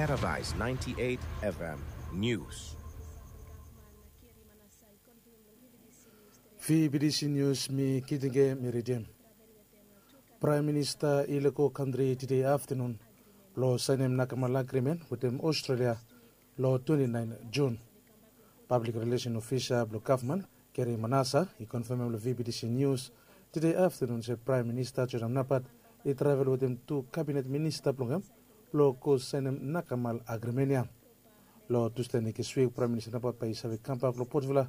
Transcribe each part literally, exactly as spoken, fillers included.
Paradise ninety-eight F M News. Vbtc News, mi Kitinge, mi ridim. Praem Minista i lego kantri tede aftanun blong saenem nakamal agrimen wetem Australia long twenty-nine Jun. Pablik rilesen ofisa blong gavman, Gary Manassa, i konfamem long Vbtc News tede aftanun se Praem Minista Joram Napat i travel wetem tu kabinet minista blong hem blong go saenem nakamal agrimen ya. Long Tusde nekswik, Praem Minista Napat bae i save kambak long Port Vila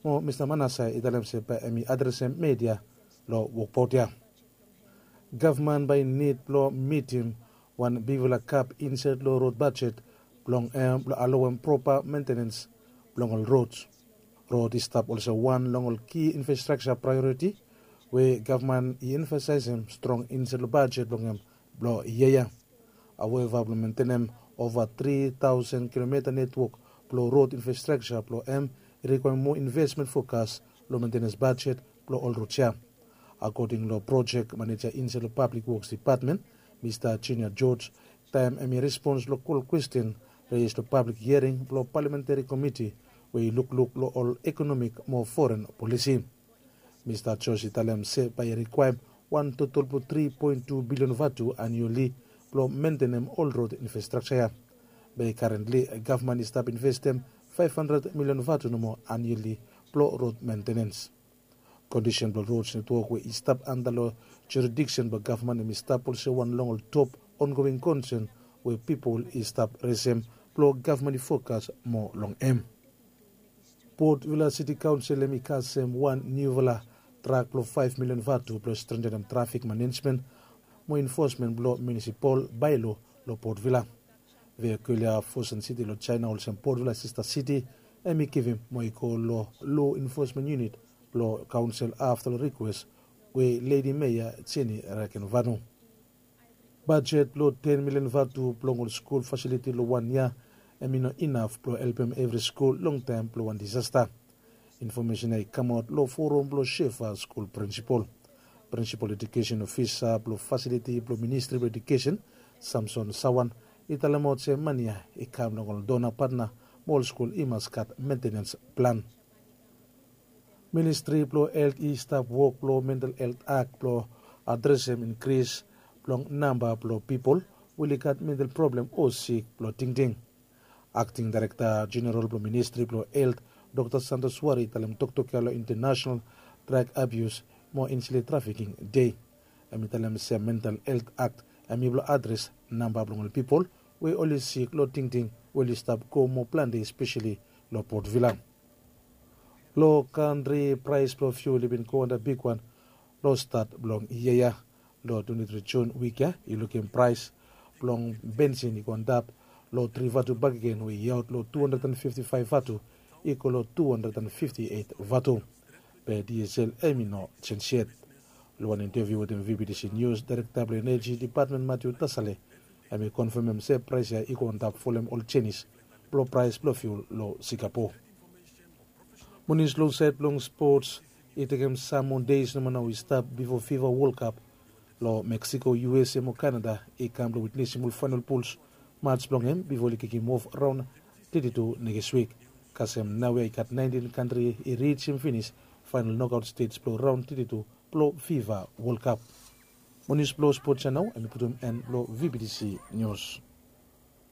mo Mista Manassa i talem se bae hem i adresem media long wokbaot ya. Gavman bae i nid blong mitim wan bigfala gap insaed long rod bajet blong hem blong alowem propa mentenens blong ol rods. Rod i stap olsem wan long ol ki infrastrakja praeoriti we gavman i emfasaesem strong insaed long bajet blong hem blong yia ya. Haueva, blong mentenem ova tri taosen kilomita netwok blong rod infrastrakja blong hem i rikwaem moa invesmen fokas long mentenens bajet blong ol rods ya. Akoding long projek maneja insaed long Pablik Woks Depatmen, Mista Junior George, taem hem i respons long kol kwesten res long pablik hiering blong palamentari komiti we i lukluk long ol ekonomik mo foren polisi. Mista George i talem se bae i rikwaem wan totol blong tri poen tu bilion vatu anioli blong mentenem ol rod infrastrakja ya. Be karentli gavman i stap investem faef handred milion vatu nomo anioli blong rod mentenens. Kondisen blong rods netwok we i stap anda long juridiksen blong gavman hem i stap olsem wan long ol top ongoing konsen we pipol i stap resem blong gavman i fokas moa long hem. Port Vila Siti Kaonsel hem i kasem wan niufala drak blong faef milion vatu blong strentenem trafik manejmen mo enfosmen blong munisipal baelo long Port Vila. Vehikel ya Fosun City long Jaena olsem Port Vila sista siti hem i givim mo i go long lo enfosmen yunit blong kaonsel afta long rikwes we Ledi Meya Jenny Rakenvanu. Bajet blong ten milion vatu blong ol skul fasiliti long wan yia hem i no inaf blong helpem evri skul long taem blong wan disasta. Infomesen ya i kamaot long forum blong Shefa skul prinsipal. Prinsipal edukesen ofisa blong fasiliti blong Ministri blong Edukesen, Samson Sawan, i talemaot se mane ya i kam long ol dona patna mo ol skul i mas gat mentenens plan. Ministri blong Helt i stap wok blong Mental Helt Akt blong adresem inkris blong namba blong pipol we oli gat mental problem o sik blong tingting. Akting Daerekta Jeneral blong Ministri blong Helt, Dokta Santos Wari, i talem toktok ya long International Drag Abuse mo Insilei Trafiking Dei. Hem i talem se Mental Helt Akt hem i blong adres namba blong ol pipol we oli sik long tingting we oli stap go moa plante, espeseli long Port Vila. Long kantri, praes blong fiul i bin go anda bigwan long stat blong yia ya. Long twenti tri Jun wik ya i lukim praes blong bensin i go antap long tri vatu bakegen we i aot long tu handred and fifti faef vatu i go long tu handred and fifti eit vatu. Be diesel hem i no jenj yet. Long wan inteviu wetem Vbtc Nius, Daerekta blong Eneji Depatmen Matiu Tasale hem i konfamem se praes ya i go antap folem ol jenis blong praes blong fiul long Singapore. Monis long saed blong spots, i tekem sam moa deis nomo nao i stap bifo fifa Wol Kap long Meksiko, U S A mo Kanada i kam blong witnesim ol faenol puls mats blong hem bifo oli kikim of raon teti tu nekswik. Kasem naoia i gat naentin kantri i rijim finis faenol nokaot stej blong raon teti tu blong fifa Wol Kap. Mo nius blong spots ya nao hem i putum en blong Vbtc Nius.